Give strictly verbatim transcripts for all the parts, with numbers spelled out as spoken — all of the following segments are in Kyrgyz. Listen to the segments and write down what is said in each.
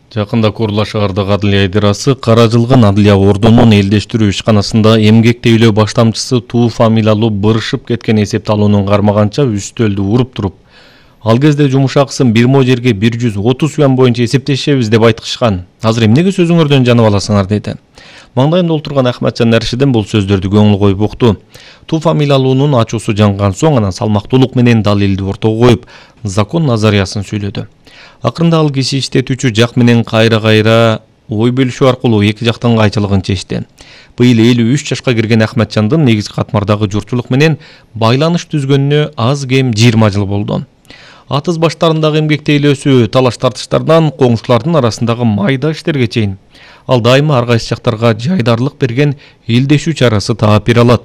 Жакында Курла шаардык адылия идирасы каражылган адылия ордунун элдештирүү ишканасында эмгек тейлөө баштамчысы Туу фамилиялуу бырышып кеткен эсепталуунун кармаганча үстөлдү уруп туруп, ал кезде жумуш акысын бир мо жерге бир жүз отуз юан боюнча эсептешебиз деп айткышкан. Азыр эмнеге сөзүңөрдөн жанып аласыңар деди. Маңдайында отурган Ахматжан Нершиден бул сөздөрдү көңүл коюп укту. Туу фамилиялуунун ачуусу жанган соң анан салмактуулук менен далилди ортого коюп, закон назариясын сүйлөдү. Акырында ал киши иштетүүчү жак менен кайра-кайра ой бөлүшүү аркылуу эки жактын кайчылыгын чечти. Быйыл элүү үч жашка кирген Ахматжандын негизги катмардагы журтчулук менен байланыш түзгөнүнө аз кем жыйырма жыл болду. Атыз баштарындагы эмгек тейлөөсү талаш тартыштардан коңшулардын арасындагы майда иштерге чейин ал дайыма ар кайсы жактарга жайдарлык берген элдешүү чарасы таап бере алат.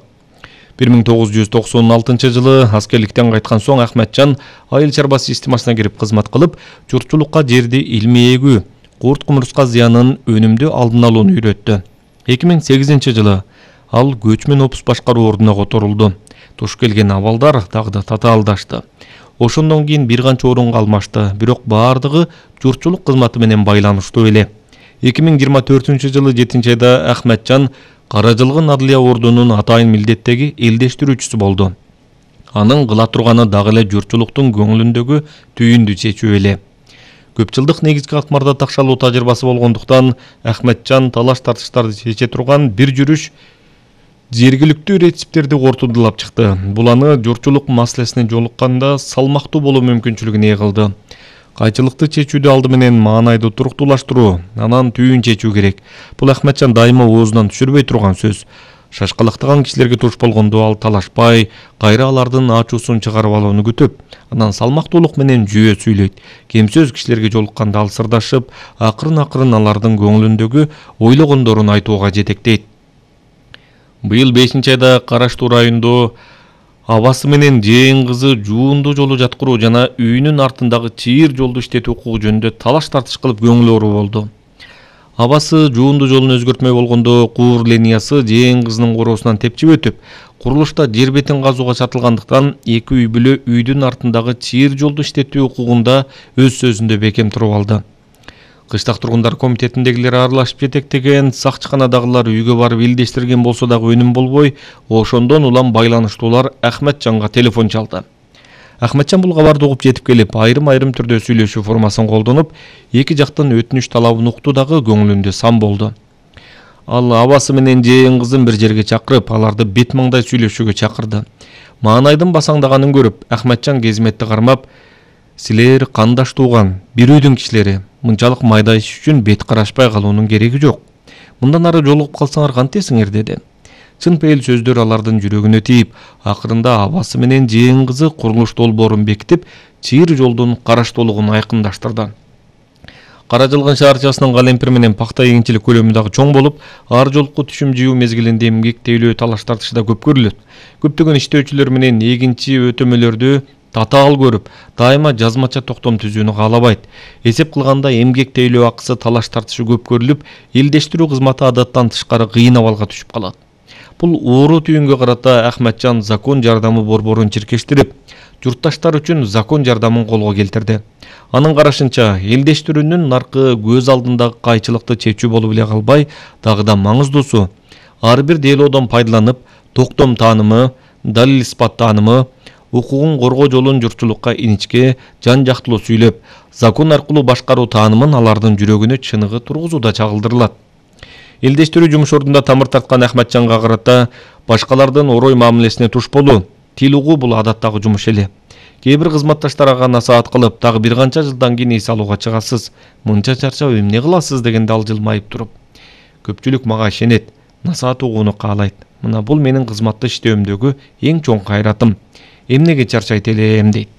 бир миң тогуз жүз токсон алтынчы жылы аскерликтен кайткан соң Ахматжан айыл чарба системасына кирип кызмат кылып, журтчулукка жерди илмий эгүү, курт кумурска зыянын өнүмдүү алдын алууну үйрөттү. эки миң сегизинчи жылы ал көчмөн опус башкаруу ордуна которулду. Туш келген абалдар дагы да татаалдашты. Ошондон кийин бир канча орунга алмашты, бирок баардыгы журтчулук кызматы менен байланыштуу эле. эки миң жыйырма төртүнчү жылы жетинчи айда Ахматжан Каражылган адылия ордунун атайын милдеттеги элдештирүүчүсү болду. Анын кыла турганы дагы эле журтчулуктун көңүлүндөгү түйүндү чечүү эле. Көп жылдык негизги катмарда такшалуу тажрыйбасы болгондуктан Ахматжан талаш тартыштарды чече турган бир жүрүш жергиликтүү рецептерди кортундулап чыкты. Бул аны журтчулук маселесине жолукканда салмактуу болуу мүмкүнчүлүгүн ээ кылды. Кайчылыкты чечүүдө алды менен маанайды туруктуулаштыруу, анан түйүн чечүү керек. Бул Ахматжан дайыма оозунан түшүрбөй турган сөз. Шашкалактаган кишилерге туш болгондо ал талашпай, кайра алардын ачуусун чыгарып алууну күтүп, анан салмактуулук менен жүйө сүйлөйт. Кемсөз кишилерге жолукканда ал сырдашып, акырын-акырын алардын көңүлүндөгү ойлогондорун айтууга жетектейт. Быйыл бешинчи айда Караштуу районунда абасы менен жээн кызы жуунду жолу жаткыруу жана үйүнүн артындагы чыйыр жолду иштетүү укугу жөнүндө талаш тартыш кылып көңүл оору болду. Абасы жуунду жолун өзгөртмөй болгондо куур линиясы жээн кызынын короосунан тепчип өтүп, курулушта жер бетин казууга чатылгандыктан эки үй бүлө үйдүн артындагы чыйыр жолду иштетүү укугунда өз сөзүндө бекем туруп алды. Кыштак тургундар комитетиндегилер аралашып жетектеген, сакчыканадагылар үйгө барып илдештирген болсо дагы өнүм болбой, ошондон улам байланыштуулар Ахматжанга телефон чалды. Ахматжан бул кабарды угуп жетип келип, айрым-айрым түрдө сүйлөшүү формасын колдонуп, эки жактын өтүнүч талабын укту дагы көңүлүндө сан болду. Ал абасы менен жээн кызын бир жерге чакырып, аларды бет маңдай сүйлөшүүгө чакырды. Маанайдын басаңдаганын көрүп, Ахматжан кезметти кармап, "Силер кандаш тууган, бир үйдүн кишилери. Мынчалык майда иш үчүн бет карашпай калуунун кереги жок. Мындан ары жолугуп калсаңар кантесиңер" деди. Чын пейил сөздөр алардын жүрөгүнө тийип, акырында абасы менен жээн кызы курулуш долбоорун бекитип, чыйыр жолдун караштуулугун айкындаштырды. Каражылган шаарчасынын Калемпир менен пакта эгинчилик көлөмү дагы чоң болуп, ар жолку түшүм жыйуу мезгилинде эмгек тейлөө талаш тартышы да көп көрүлөт. Көптөгөн иштөөчүлөр менен эгинчи өтөмөлөрдү татаал көрүп, дайыма жазмача токтом түзүүнү каалабайт. Эсеп кылганда эмгек тейлөө акысы талаш тартышы көп көрүлүп, элдештирүү кызматы адаттан тышкары кыйын абалга түшүп калат. Бул оору түйүнгө карата Ахматжан закон жардамы борборун чиркештирип, журтташтар үчүн закон жардамын колго келтирди. Анын карашынча, элдештирүүнүн наркы көз алдындагы кайчылыкты чечүү болуп эле калбай, дагы да маңыздуусу ар бир делоодон пайдаланып, токтом таанымы, далил испат таанымы, укугун коргоо жолун журтчулукка иничке, жан жактылуу сүйлөп, закон аркылуу башкаруу таанымын алардын жүрөгүнө чыныгы тургузууда чагылдырылат. Элдештирүү жумуш ордунда тамыр тарткан Ахматжанга карата башкалардын орой мамилесине туш болуу, тил угуу бул адаттагы жумуш эле. Кээ бир кызматташтар ага насаат кылып, дагы бир канча жылдан кийин эс алууга чыгасыз, мынча чарчап эмне кыласыз дегенде ал жылмайып туруп, "Көпчүлүк мага ишенет, насаат угууну каалайт. Мына бул менин кызматта иштөөмдөгү эң чоң кайратым. Эмнеге чарчайт элем" дейт.